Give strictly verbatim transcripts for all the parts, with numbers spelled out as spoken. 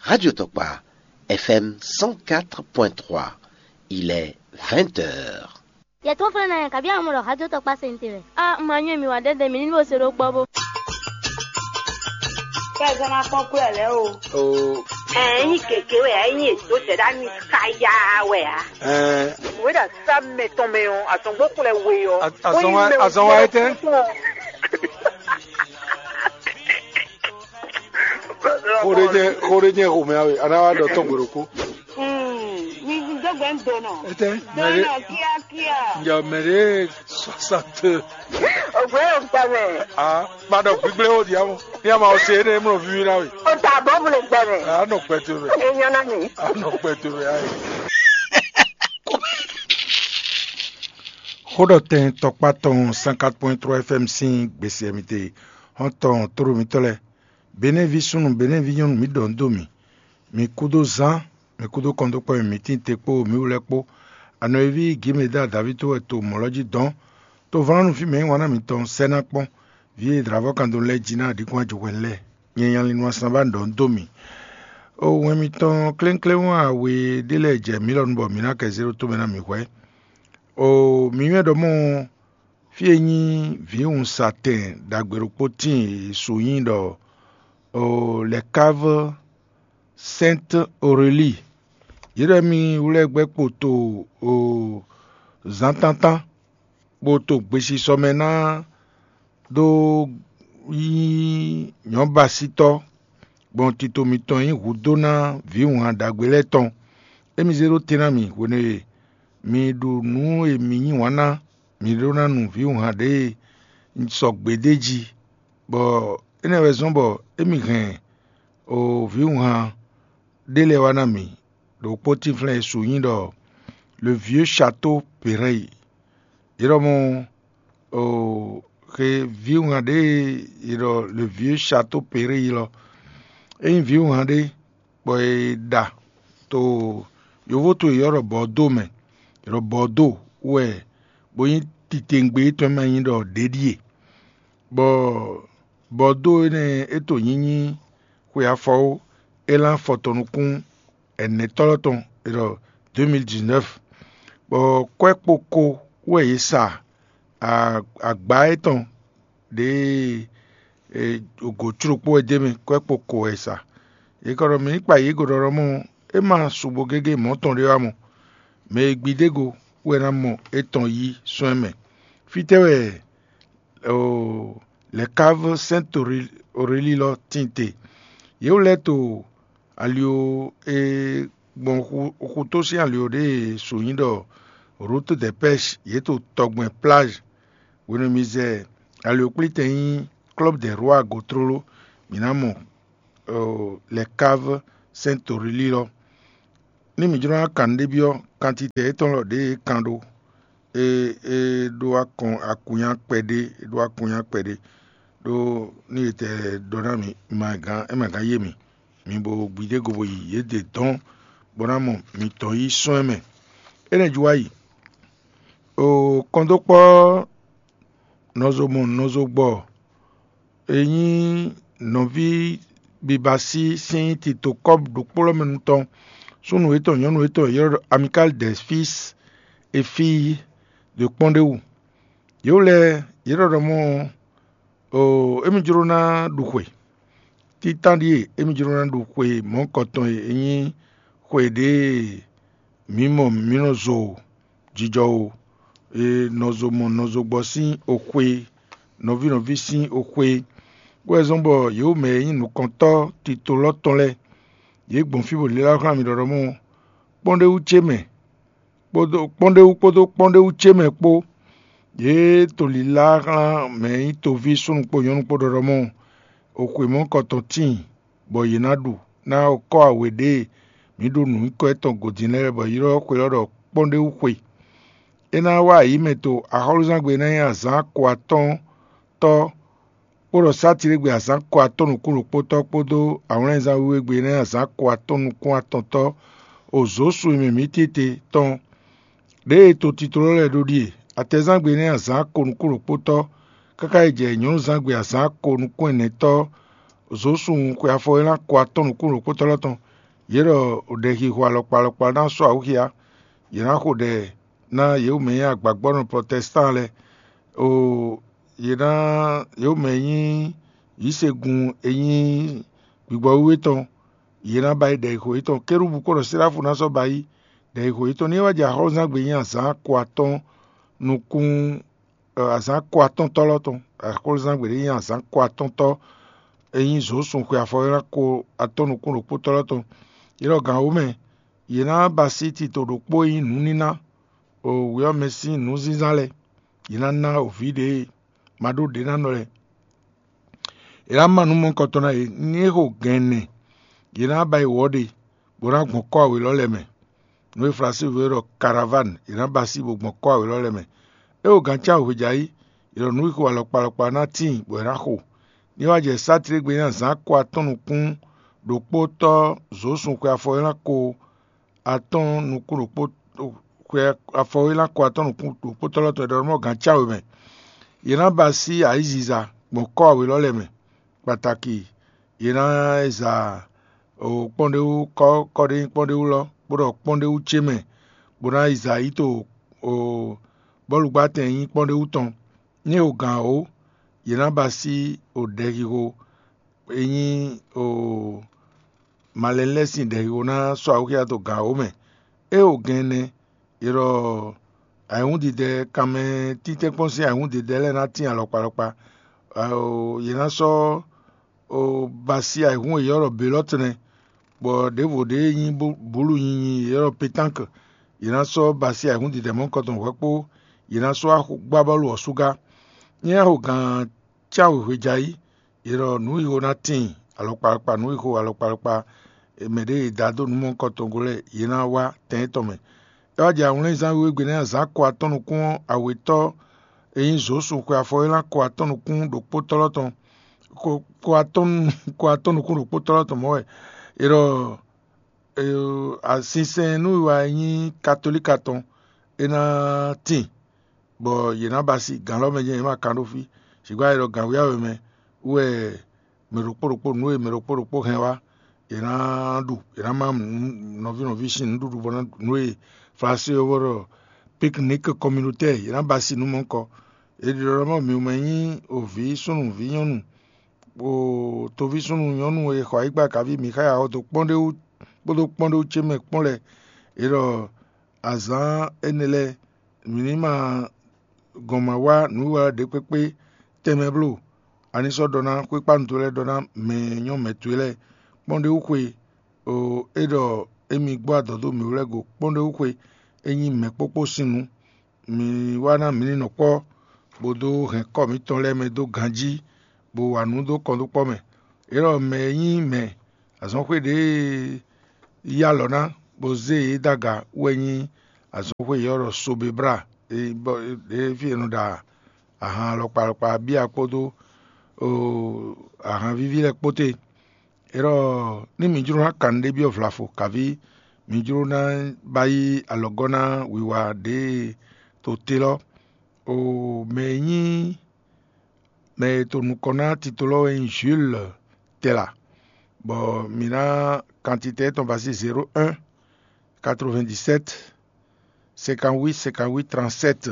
Radio Tokpa, F M cent quatre point trois, il est vingt heures. Yɛ tó flɛ́ ná yɛ, kabi àwọn ọmọ ɖɔ xájó tɔkpá se ní te wɛ. A ma nyɔ́ mi wá ɖɛ́ɖɛ mi ní bó se ɖó gbɔ bó. Kɛ ɛ zɔ́n ná kpɔ́n kú ɛ lɛ́ o. Ɛ nyí gěgé wɛ ɛ nyí èdó zɛ̌ ɖá mi káyá wɛ ǎ. Ɛ Wěɖa sá mɛ tɔn mɛ ɔ́, azɔngbó xlɛ we ɔ́. Azɔn wa etɛ́? Xo ɖé jɛ xo ɖé jɛ xomɛ awe, a ná wá ɖɔ tɔn gbe ɖokpó. Mi dó gbɛ ń donɔ. Etɛ́? Donɔ kíákíá. Njɛ mɛ ɖé soixante. Ògbé yóò gbà mɛ. Ah, ma ɖɔ gbígbé ó di amɔ. Ní a ma ɔ se énɛ́ mlɔ víví ná we. O ta bɔ mo le gbà mɛ. A nɔ kpɛ to mɛ. E nyɔ na mi. A nɔ kpɛ to mɛ ayi. Xó ɖɔ tɛn tɔkpá tɔn cent quatre point trois F M sín gbèsè mi te. Hɔn tɔn tóɖo mitɔ́ lɛ́ɛ. Benɛ́ví súnnu, Benɛ́ví nyɔ́nu, mǐ ɖɔ nǔ dó mì. Mǐ kúdó zán, mǐ kúdó kɔndókpɔ́ e mǐ tín te kpó mǐ wú lɛ́ɛ kpó. Anɔ̌yíví Gǐmeda Davíto wɛ to mɔ̌ lɔ jí dɔn. Tovlánú fí mɛ e nyí wanná mitɔn sɛ́ ná kpɔ́n. Vǐ e dlǎvɔ́ kan dó lɛ́ɛ jí ná aɖǐkún ajɔhwɛ́nú lɛ́ɛ, nyɛ nya lin nú asán ba ɖɔ nǔ dó mì. O wɛn mitɔn klénkléwún awe ɖé lɛ́ɛ jɛ mǐ lɔ nu bɔ mǐ ná kɛ zé ɖó tomɛ ná mǐ hwɛ́. O mǐ nywɛ́ ɖɔ mɔ fí e nyí vǐwunzatɛn ɖagbe ɖokpó tíin e su nyí ɖɔ Les Caves Sainte Aurélie. Yě ɖɔ émí wlɛ́ gbɛ́ kpo to zǎntántán, kpo to gbesisɔ mɛ ná dó nyí nyɔ̌basítɔ́, gbɔn tito mitɔn nyí hudó ná vǐwunhan ɖagbe lɛ́ɛ tɔn. Émí zé ɖó te ná mì hwenu e mi ɖu nǔ e mi yí wǎn ná, mi ɖó ná nu vǐwunhan ɖěe sɔgbe d'é jí, bɔ énɛ́ wɛ zɔ́n bɔ émí hɛn vǐwunhan ɖé lɛ́ɛ wá ná mì, ɖo kpótínflɛ́n e su nyí ɖɔ Le Vieux Château Péréi. Yě ɖɔ mɔ xe vǐwunhan ɖé e è ɖɔ Le Vieux Château Péréi lɔ. É nyí vǐwunhan ɖé bɔ è ɖa to yovó to e yɔ́ ɖɔ Bɔ̌dó mɛ. È ɖɔ Bɔ̌dó wɛ bó nyí titewungbe tɔn e ma nyí ɖɔ ɖě ɖíe. Bɔ Bɔ̌dó énɛ́ é to nyínyí xwe afɔwó élán afɔtɔn nukún ɛnɛtɔ́ lɔ tɔn è ɖɔ deux mille dix-neuf, bɔ kwɛ́ kpo ko wɛ yě sa agba étɔn ɖěe gǒ có ɖokpó wɛ d'é mɛ, kwɛ́ kpo ko wɛ è sa. È ka ɖɔ mǐ ní kpa yě go ɖɔɖɔ mɔ é ma sugbo gégé mɔ̌ tɔn ɖé wá mɔ. Mɛ e gbidégo wɛ ná mɔ étɔn yí sɔ́ ɛ mɛ. Fítɛ́ wɛ Les Caves Sainte Aurélie lɔ tíin te? Yě wlɛ́ to ali e gbɔn xutó sín ali ɖé e su nyí ɖɔ Route des Pêches, yě to tɔgbɛn plage. Hwenu e mi zɛ aliwkplítɛn nyí Club des Rois go tlóló, mǐ ná mɔ Les Caves Sainte Aurélie lɔ. Ní mǐ jló ná kan nǔ ɖé byɔ́ kantitɛ étɔn lɔ ɖě e kan ɖó, é é ɖó akɔn akunya kpɛɖé, é ɖó akunya kpɛɖé, ɖó ní e tɛ ɖɔ ná mì, ma gán é ma gán yé mì. Mi bo gbidé go bo yi yě dě dɔn, bó ná mɔ mitɔn yí sɔ́n ɛ mɛ. Énɛ́ jí wá yi. O kɔndókpɔ́ nɔzo mɔ nɔzo gbɔ e nyí nɔví bibasí sín tito kɔ́bu ɖokpó lɔ mɛ nu tɔn, súnnu yětɔn nyɔ̌nu yětɔn e ylɔ́ ɖɔ Amicale des Fils et Filles de Kpɔ́ndéwu. Yě wú lɛ́ɛ yě ɖɔ ɖɔ mɔ émí jló ná ɖu xwe. Títán ɖíe émí jló ná ɖu xwe mɔ̌hunkɔtɔn e é nyí xwe ɖě e mǐ mɔ mǐ nɔ zo jijɔ o, e nɔ zo mɔ nɔ zo gbɔ sín oxwe, nɔví nɔví sín oxwe, bó wɛ zɔ́n bɔ yě wú mɛ e nyí nukɔntɔ́ tito lɔ tɔn lɛ́ɛ, yě gbɔn fí bó lilá xlán mì ɖɔɖɔmɔ́ kpɔ́n ɖ'é wú ce mɛ, kpódó kpɔ́n ɖ'é wú kpódó kpɔ́n ɖ'é wú ce mɛ kpó. Yě to lilá xlán mɛ e nyí toví súnnu kpó nyɔ̌nu kpó ɖɔɖɔmɔ́ oxwe mɔ̌hunkɔtɔn tíin, bɔ yě ná ɖu ná kɔ́ awe ɖě e mǐ ɖo nǔ nyíkɔ étɔn gǒ din lɛ́ɛ, bɔ è ylɔ́ xwe lɔ ɖɔ kpɔ́n ɖ'é wú xwe. É ná wá ayǐ mɛ to axɔ́lúzángbe e ná nyí azǎn ko atɔ́ɔ́n tɔ́, kpó ɖɔ sátiɖegbe azǎn ko atɔ́ɔ́n nukún ɖokpótɔ́ kpódó awlɛnzán wíwé gbe e ná nyí azǎn ko atɔ́ɔ́n nukún atɔntɔ́ o zǒsu e mɛ mǐ tete tɔn. Ɖěe to tito lɔ lɛ́ɛ ɖó ɖíe: atɛzángbe e ná nyí azǎn ko nukún ɖokpótɔ́, káká yi jɛ nyɔ̌nuzángbe azǎn ko nukún ɛnɛtɔ́ zǒsun xwe afɔwéla ko atɔ́ɔ́n nukún ɖokpótɔ́ lɔ tɔn, Yě ɖɔ ɖɛxixo alɔkpa alɔkpa ná sɔ́ awǔxia; yě ná xo ɖɛ ná yě mɛ nyí agbagbɔ́nɔ protɛstan lɛ́ɛ. O yě ná yě mɛ nyí yǐsegun e nyí gbigbɔ wíwé tɔn; yě ná ba yi ɖɛxixo yětɔn. Kérúbu kpódɔ séráfu ná sɔ́ ba yi ɖɛxixo yětɔn. Ní é wá jɛ axɔ́súzángbe nyí azǎn ko atɔ́ɔ́n nukún azǎn ko atɔ́ntɔ́ lɔ́ tɔn. Axɔ́súzángbe ɖé nyí azǎn ko atɔ́ntɔ́ e nyí zǒsun xwe afɔwéla ko atɔ́ nukún ɖokpótɔ́ lɔ́ tɔn. Yě ɖɔ gǎn wǒ mɛ, yě ná ba sí tito ɖokpó e nyí nǔníná o wě ɔ́ mɛ sín nǔzínzán lɛ́ɛ; yě ná ná o vǐ ɖě e ma ɖó ɖě ná nɔ lɛ́ɛ. È nǎ ma nǔ mɔ̌hunkɔtɔn ná yě. Ní é xo gɛ̌n ɛnɛ, yě ná ba yi wɔ̌ ɖe, bó ná gbɔn kɔ́ awě lɔ́ lɛ́ɛ mɛ. Nǔ e Flasyɛ́nví ɖɔ karaván, yě ná ba sí bó gbɔn kɔ́ awě lɔ́ lɛ́ɛ mɛ. É xo gǎn cá wějá yí, yě ɖɔ nǔ e xo alɔkpa alɔkpa ná tíin bɔ è nǎ xo. Ní é wá jɛ sátlégbé ná zǎn ko atɔ́n nukún ɖokpótɔ́ zǒsun xwe afɔwéla ko atɔ́n nukún ɖokpó xwe afɔwéla ko atɔ́n nukún ɖokpótɔ́ lɔ́ tɔn è ɖɔ nɔ́ gǎn cá wě mɛ. Yě ná ba sí ayǐziza gbɔn kɔ́ awě lɔ́ lɛ́ɛ mɛ. Kpataki yě ná za kpɔ́nɖéwú kɔ́ kɔ́ɖényí kpɔ́nɖéwú lɔ́, bó ɖɔ kpɔ́nɖéwú ce mɛ, bó ná yi za yi to bɔ́lugbátɛn e nyí kpɔ́nɖéwú tɔn. Ní e o gǎn ó, yě ná ba sí o ɖɛxixo e nyí o malɛnu lɛ́ɛ sín ɖɛxixo ná sɔ́ awúxia dó gǎn ó mɛ. É o gɛn ɛnɛ, è ɖɔ ayǐhúndidɛ kanmɛ títɛ́nkpɔ́n sín ayǐhúndidɛ lɛ́ɛ ná tín alɔkpa alɔkpa. Yě ná sɔ́ ba sí ayǐhún e yě ylɔ́ ɖɔ belɔ́tnɛ, bɔ ɖěvo ɖě e nyí bǔlu nyinyi e ylɔ́ petánkɛ; yě ná sɔ́ ba sí ayǐhúndidɛ mɔ̌hunkɔtɔn hwɛ̌ kpó; yě ná sɔ́ gbá bɔ́lu ɔ́ sú gá. Nyɛ xo gǎn cáwe hwejayi; yě ɖɔ nǔ e xo ná tíin alɔkpa alɔkpa, nǔ e xo alɔkpa alɔkpa mɛ ɖě e da dó nǔ mɔ̌hunkɔtɔn gɔ́ lɛ́ɛ, yě ná wá tɛn étɔn mɛ. É wá jɛ awlɛ́nzán wíwé gbe nɛ́ azǎn ko atɔ́ nukún ɔ́, awětɔ́ e nyí zǒsu xwe afɔwéla ko atɔ́ nukún ɖokpótɔ́ lɔ́ tɔn, ko atɔ́ nukún ɖokpótɔ́ lɔ́ tɔn mɔ̌ wɛ. È ɖɔ asinsɛn nú wiwa e nyí katolíka tɔn é ná tíin, bɔ yě ná ba asi gǎn lɔ́ mɛ jɛ́n yě ma kan ɖó fí. Sǐgbá è ɖɔ gǎn wíyáwɛ mɛ wú wɛ mɛ ɖokpó ɖokpó nǔ e mɛ ɖokpó ɖokpó hɛn wá, è nǎ ɖu, è nǎ má nɔví nɔví sín nǔɖuɖu bɔ ná ɖu nǔ e Flasyɛ́nví ɔ́ ɖɔ piknik kɔminotɛ́, è nǎ ba asi nǔ mɔ̌hunkɔ. È ɖi ɖɔ mɔ mǐ mɛ nyí o vǐ súnnu vǐ nyɔ́nu, o toví súnnu nyɔ́nu e xɔ ayǐkpa kaví Mixáya ɔ́ dó kpɔ́n ɖé wú kpódó kpɔ́n ɖé wú ce mɛ kpɔ́n lɛ́ɛ. È ɖɔ azǎn énɛ́ lɛ́ɛ mǐ ní ma gɔn ma wá nǔwiwa ɖě kpékpé tɛnmɛ bló. A ní sɔ́ ɖɔ ná xwékpánu towe lɛ́ɛ ɖɔ ná mɛ e nyɔ́ mɛ towe lɛ́ɛ kpɔ́n ɖé wú xwe, é ɖɔ émí gbɔ adɔ̌ dó mǐ wú lɛ́ɛ go kpɔ́n ɖé wú xwe, é nyí mɛ̌ kpókpó sín nǔ. Mǐ wá ná mǐ ní nɔ kpɔ́, bó dó hɛn kɔ́ mǐtɔn lɛ́ɛ mɛ dó ganjí, bó wa nǔ dó kɔndókpɔ́ mɛ. É ɖɔ mɛ e nyí mɛ azɔ̌xwé ɖě e yí alɔ ná, bó zé yě dó aga wú wɛ nyí azɔ̌xwé e è ylɔ́ ɖɔ Sobebla, ɖě fí è nɔ ɖa ahan alɔkpa alɔkpa bíya kpódó ahan víví lɛ́ɛ kpó te. É ɖɔ ní mi jló ná kan nǔɖébyɔ́ vlavo, kaví mi jló ná ba yí alɔgɔ́ ná wiwa ɖě e to te lɔ́. O mɛ e nyí mɛ e to nukɔn ná tito lɔ́ wɛ nyí Jules Tɛla, bɔ mǐ ná kantitɛ étɔn ba sí zéro un, quatre-vingt-dix-sept, cinquante-huit, cinquante-huit, trente-sept.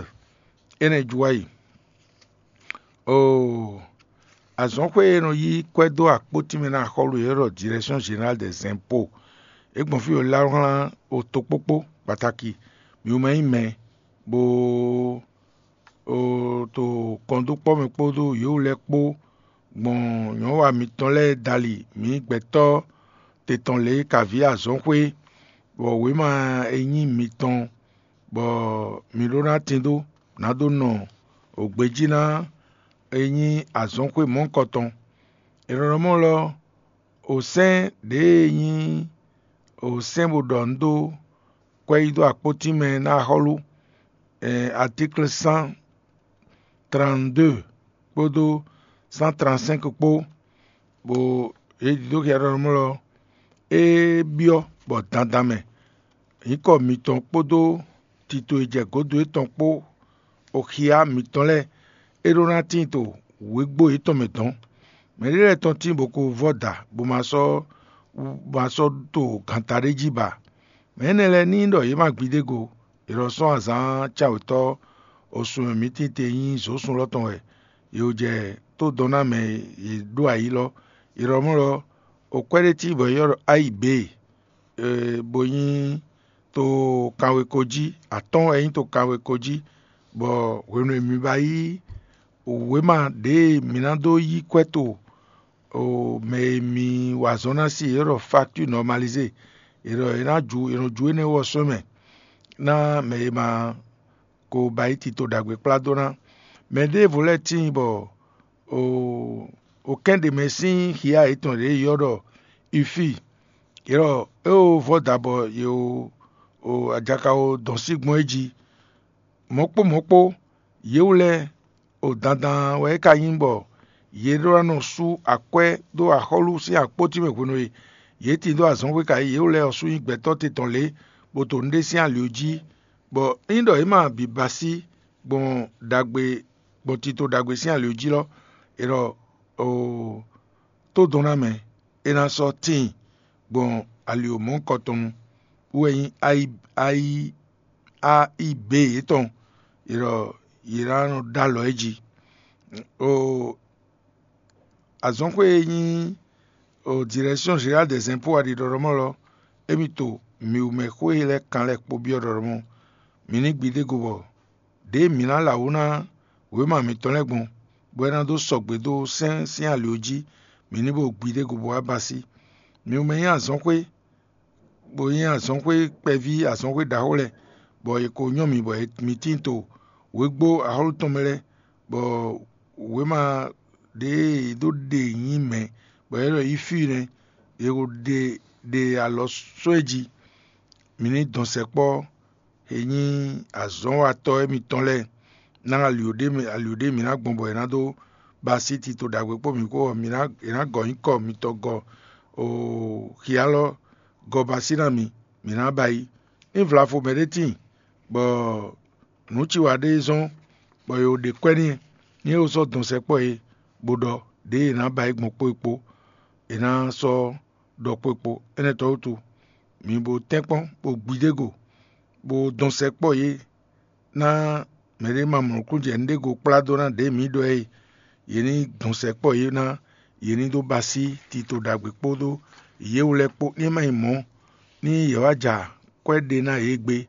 Énɛ́ ju wá yi. Oo, azɔ̌xwé e nɔ yí kwɛ́ dó akpótín mɛ ná axɔ́lú e ɖɔ Direction Générale des Impôts, é gbɔn fí e lá wlán o tokpókpó kpataki mǐ mɛ nyí mɛ, bó to kɔndókpɔ́ mɛ kpódó yǒwu lɛ́ɛ kpó gbɔn nyɔ̌wa mitɔn lɛ́ɛ dali mǐ gbɛtɔ́ te tɔn lě kaví azɔ̌xwé, bɔ wěma e nyí mitɔn, bɔ mǐ ɖó ná tín dó, nǎ dó nɔ gbejí ná e nyí azɔ̌xwé mɔ̌hunkɔtɔn. È nɔ ɖɔ mɔ̌ lɔ, osɛ́n ɖě e nyí osɛ́n bó ɖɔ nǔ dó kwɛ́ yí dó akpótín mɛ ná axɔ́lú, atíkle cent trente-deux kpódó cent trente-cinq kpó, bó yě ɖidó xia ɖɔ mɔ̌ lɔ, é byɔ́ bɔ dandan mɛ nyǐkɔ mitɔn kpódó tito e jɛ gǒdo yětɔn kpó oxia mitɔn lɛ́ɛ é ɖó ná tíin to wěgbo yětɔn mɛ dɔ̌n. Mɛɖé lɛ́ɛ tɔn tíin bó ko vɔ́ da bó ma sɔ́ ma sɔ́ to ganta ɖé jí ba. Mɛ énɛ́ lɛ́ɛ ní ɖɔ yě ma gbidégo, è nɔ sɔ́ azǎn cawětɔ́ osun e mǐ tinte nyí zǒsun lɔ tɔn wɛ, yě jɛ tó dɔn ná mɛ e yě ɖó ayǐ lɔ. È nɔ mɔ ɖɔ okwɛ́ ɖé cí bɔ è ylɔ́ ɖɔ ayǐ bě, bó nyí to kanweko jí, atɔ́ɔ́n wɛ nyí to kanweko jí, bɔ hwenu e mi ba yí wěma ɖě e mǐ ná dó yí kwɛ́ to mɛ e mi wa azɔn ná sí, yě ɖɔ facture normalisée, è ɖɔ è nǎ ju è nɔ ju énɛ́ wú ɔ́ sɔ́ mɛ ná mɛ e ma ko ba yí tito ɖagbe kplá dó ná. Mɛ ɖěvo lɛ́ɛ tíin bɔ o kɛ́n ɖě mɛ sín hiya yětɔn ɖě ylɔ́ ɖɔ ifi, yě ɖɔ é o vɔ́ da bɔ yě o ajakawo dɔn sí gbɔn é jí. Mɔ̌ kpó mɔ̌ kpó, yě wú lɛ́ɛ, o dandan wɛ é ka nyí bɔ yě ɖó ná nɔ sú akwɛ́ dó axɔ́lú sín akpótín mɛ hwenu e yě tin dó azɔ̌xwé ka yí yě wú lɛ́ɛ ɔ́ sú nyí gbɛtɔ́ te tɔn lě, bó to nǔɖé sín ali jí, bɔ ényí ɖɔ yě ma bǐ ba sí gbɔn ɖagbe gbɔn tito ɖagbe sín ali jí lɔ, è ɖɔ oo tó dɔn ná mɛ, é ná sɔ́ tíin gbɔn ali wǒ mɔ̌ kɔ tɔn nu, wú wɛ nyí ayi ayi a i b yětɔn, yě ɖɔ yě ná nɔ ɖó alɔ é jí. Oo azɔ̌xwé e nyí Direction Générale des Impôts a ɖi ɖɔɖɔmɔ lɔ, émí to mǐwumɛ xwé e lɛ́ɛ kan lɛ́ɛ kpó byɔ́ ɖɔɖɔmɔ. Mǐ ní gbidégo bɔ ɖěe mǐ ná lɛ awǔ ná wěma mǐtɔn lɛ́ɛ gbɔn, bɔ é ná dó sɔgbe dó sɛ́n sín ali ɔ́ jí, mǐ ní bo gbidégo bó wá ba sí. Mǐwumɛ nyí azɔ̌xwé, bó nyí azɔ̌xwé kpɛví, azɔ̌xwé ɖaxó lɛ́ɛ, bɔ è ko nyɔ́ mǐ bɔ mǐ tíin to wěgbó axɔ́lú tɔn mɛ lɛ́ɛ, bɔ wěma ɖě e è dó ɖe nyí mɛ̌, bɔ é ɖɔ yí fí nɛ́, è ko ɖe ɖe alɔ sɔ́ ɛ jí. Mǐ ní dɔn sɛkpɔ́ e nyí azɔ̌watɔ́ émítɔn lɛ́ɛ ná ali ɖé mǐ ná gbɔn bɔ è nǎ dó ba así tito ɖagbe kpó mǐ kpó ɔ́, è nǎ gɔ nyǐkɔ mitɔn gɔ xialɔ́ gɔ ba así ná mì, mǐ ná ba yi. Ní vlafo mɛɖé tíin bɔ nǔ ci wa ɖé zɔ́n bɔ è ɖe kwɛ́ n'i, ní é sɔ́ dɔn sɛkpɔ́ é, bó ɖɔ ɖěe è nǎ ba yi gbɔn kpó é kpó, è nǎ sɔ́ ɖɔ kpó é kpó. Énɛ́ tɔn wútu, mi bo tɛ́nkpɔ́n, bo gbidégo, bo dɔn sɛkpɔ́ yě ná mɛɖé ma mɔ nǔkún jɛ nǔɖé go kplá dó ná ɖě mǐ ɖɔ é. Yě ní dɔn sɛkpɔ́ yě ná, yě ní dó ba así tito ɖagbe kpódó yě wú lɛ́ɛ kpó. Ní é má nyí mɔ̌, ní yě wá ja kwɛ́ ɖé ná yě gbé,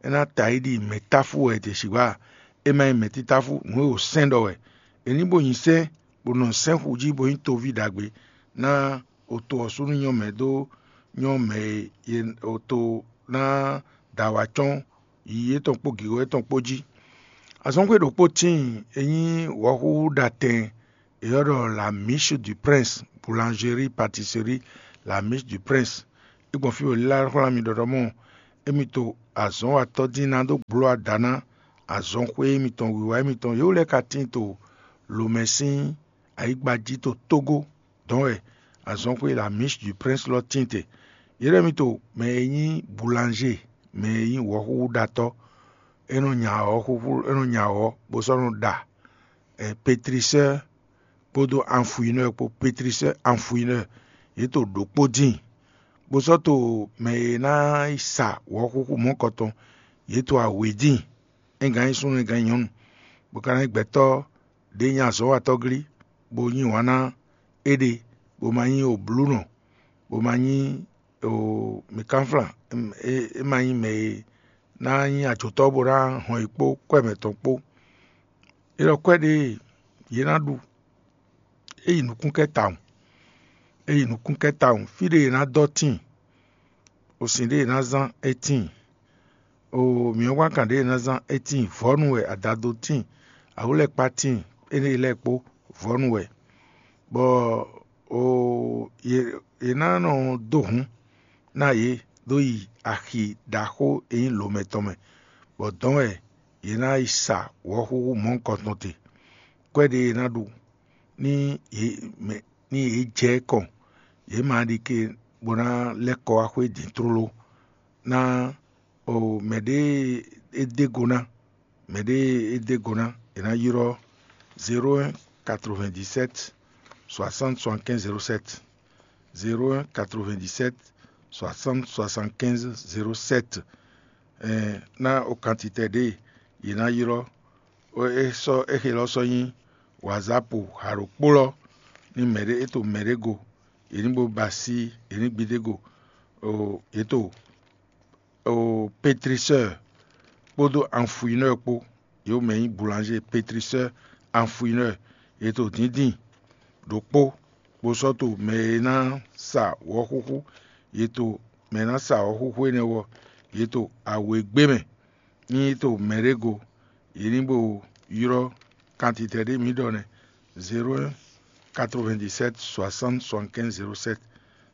é ná ta yi ɖi mɛ̌táfú wɛ è sixú a? É má nyí mɛ̌títáfú, nǔ e wǒ sɛ́n ɖɔ wɛ. È ní bo nyi sɛ́n, bó nɔ sɛ́n xu jí bó nyí toví ɖagbe ná oto ɔ́ sú ní nyɔ́ mɛ dó nyɔ́ mɛ e oto ná da wǎ cɔ́n yiyi yětɔn kpó gǐgɔ́ yětɔn kpó jí. Azɔ̌xwé ɖokpó tíin e nyí wɔ̌xúxú ɖatɛn è ylɔ́ ɖɔ La Miche du Prince, boulangerie, pâtisserie La Miche du Prince. É gbɔn fí e wǒ lɛ́ xwlá mi ɖɔɖɔmɔ émí to azɔ̌watɔ́ dín ná dó bló ada ná azɔ̌xwé émítɔn, wiwa émítɔn. Yě wú lɛ́ɛ ka tíin to lǒmɛ sín ayǐgba jí to Tógó dɔn wɛ azɔ̌xwé La Miche du Prince lɔ tíin te. Yě ɖɔ émí to mɛ e nyí boulanger, mɛ e nyí wɔ̌xúxúɖatɔ́, é nɔ nya awɔ̌ xúxú, é nɔ nya awɔ̌ bó sɔ́ nɔ ɖa pétrisɛ́ kpódó anfuinɔ kpó, pétrisɛ́ anfuinɔ, yě to ɖokpó dín, bó sɔ́ to mɛ e ná yi sa wɔ̌xúxú mɔ̌kɔtɔn, yě to awě dín, é gǎn nyí súnnu, é gǎn nyí nyɔ̌nu, bó ka ná nyí gbɛtɔ́ ɖě nyí azɔ̌watɔ́ glí, bó yí wǎn ná éɖée, bó ma nyí oblúnɔ, bó ma nyí mǐkánflán, é ma nyí mɛ e ná nyí ajotɔ́ bó ná hɔn yi kpó kwɛ́ mɛtɔn kpó. É ɖɔ kwɛ́ ɖě yě ná ɖu, é yi nukúnkɛ́ tawun, é yi nukúnkɛ́ tawun, fí ɖě yě ná dɔ́ tíin, osin ɖě yě ná zán é tíin, o mǐwángán ɖě yě ná zán é tíin, vɔ̌nu wɛ, adado tíin, awǔlɛ́kpá tíin, énɛ́ lɛ́ɛ kpó, vɔ̌nu wɛ, bɔ o yě yě ná nɔ dó hǔn ná yě dó yi axi ɖaxó e nyí lǒmɛ tɔn mɛ, bɔ dɔ̌n wɛ yě ná yi sa wɔ̌xúxú mɔ̌hunkɔtɔn te. Kwɛ́ ɖě yě ná ɖu ní yě mɛ ní yě jɛ kɔn, yě ma ɖi ke bó ná lɛ́ kɔ wá xwé din tlóló ná o mɛɖé e dé go ná, mɛɖé e dé go ná, è nǎ ylɔ́ zéro un quatre-vingt-dix-sept soixante soixante-quinze zéro sept. zéro un quatre-vingt-dix-sept soixante soixante-quinze zéro sept. Ná o kantitɛ ɖě yě ná ylɔ́ é sɔ́ éxe lɔ sɔ́ nyí wǎzápu haɖokpó lɔ ní mɛɖé é to mɛɖé go, yě ní bo ba así yě ní gbidé go, yě to pétriseur kpódó anfuineur kpó. Yě mɛ nyí boulanger, pétriseur, anfuineur. Yě to dǐndín ɖokpó bó sɔ́ to mɛ e ná sa wɔ̌xúxú. Yě to mɛ e ná sa wɔ̌xúxú énɛ́ wɔ. Yě to awěgbé mɛ ní yě to mɛɖé go. Yě ní bo ylɔ́ kantitɛ ɖé mǐ ɖɔ nɛ́: zéro un quatre-vingt-dix-sept soixante soixante-quinze zéro sept,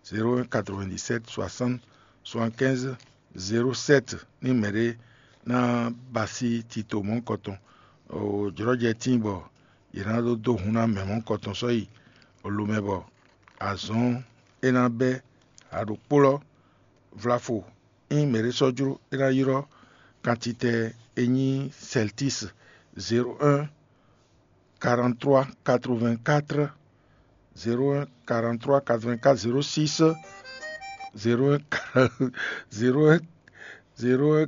zéro un quatre-vingt-dix-sept soixante soixante-quinze zéro sept. Ní mɛɖé ná ba así tito mɔ̌hunkɔtɔn, jlɔ́jɛ tíin bɔ yě ná dó dó hun ná mɛ mɔ̌hunkɔtɔn sɔ́ yi lomɛ bɔ azɔn é ná bɛ́ aɖokpó lɔ vlafo. Ényí mɛɖé sɔ́ jló é ná ylɔ́ kantitɛ e nyí celtis zéro un quarante-trois quatre-vingt-quatre, zéro un quarante-trois quatre-vingt-quatre zéro six, zéro un zéro un zéro un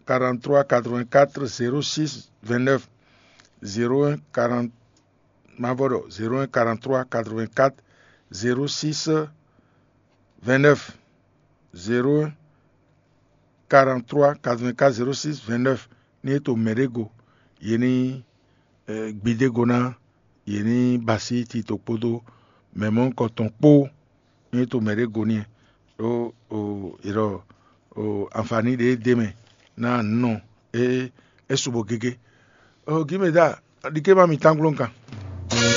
quarante-trois quatre-vingt-quatre zéro six vingt-neuf, zéro un quarante, ma vɔ ɖɔ zéro un quarante-trois quatre-vingt-quatre zéro six vingt-neuf, zéro un quarante-trois quatre-vingt-quatre zéro six vingt-neuf. Ní é to mɛɖé go, yě ní gbidé go ná, yě ní ba así tito kpódó mɛ mɔ̌hunkɔtɔn kpó. Ní é to mɛɖé go n'i, ɖó è ɖɔ anfaní ɖě d'é mɛ ná nɔ é é su bo gégé. Gǐmɛdá, ɖi ké má mi tángló kan.